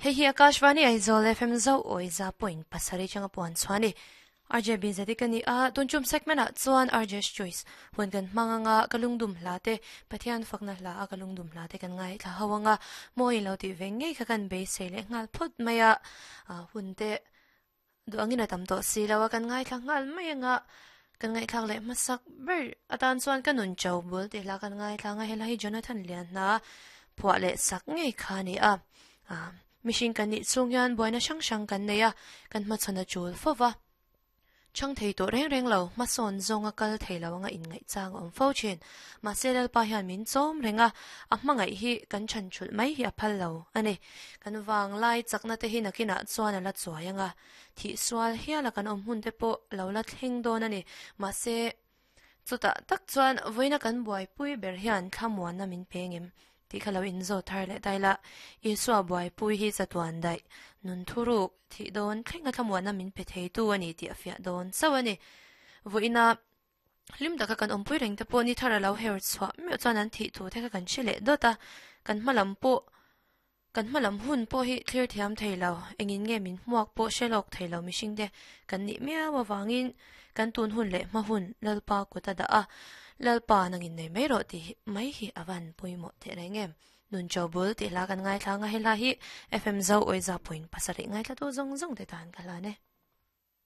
Hei hi Akashvani Aizawl FM zo awiza point pasarih changa puan chhuah a ni. RJ Binzadi ka ni a, tun chum segment ah chuan RJ's Choice hun kan hmang anga ka lungdum hla te, Pathian fakna hla a ka lungdum hla te kan ngaithla ho anga mawi lo tih ve ngei kha kan beisei leh nghal phawt mai a, hun te Duh angin a tam tawh si lo a, kan ngaithla nghal mai anga kan ngaihthlak leh hmasak ber atan chuan ka nun cho bul tih hla kan ngaithla anga helai hi Jonathan Lianhna phuah leh sak ngei kha a ni a. Mihring kan nih chhung hian buaina hrang hrang kan nei a, kan hmachhawn a chul fo va. Chhang thei tawh reng reng lo, hmasawn zawnga kal thei lo anga inngaih chang a awm fo thin. Mahse Lalpa hian min chawm reng a, a hmangaih hi kan chhan thulh mai hi a phal lo a ni. Kan vanglai chakna te hi nakinah chuan a la chuai ang a, thih sual hiala kan awm hun te pawh lo la thleng dawn a ni. Mahse, chutah tak chuan vawiina kan buaipui ber hian thlamuanna min pe ngem tih kha lo inzawt thar leh ta ila, Isua buaipui hi chatuan daih, nun thuruk, thih dawn thlenga thlamuanna min pe theitu a ni tih a fiah dawn chauh a ni. Vawiina Hlim taka kan awmpui reng te pawh ni thar a lo her chhuah meuh chuan an thih thu te kha kan hre leh dawt a, kan hma lam pawh kan hma lam hun pawh hi thlir thiam thei lo, engin nge min hmuak pawh hre lawk thei lo mihring te kan nih miau avangin kan tun hun leh hma hun Lalpa kut a dah a, Lalpa nangin nei mai rawh tih mai hi a van pawimawh teh reng em. Nun Cho Bul tih hla kan ngaithla ang a, he hla hi FM Zo Awiza point pasarih ngaithlatu zawng zawng te tan ka hlan e.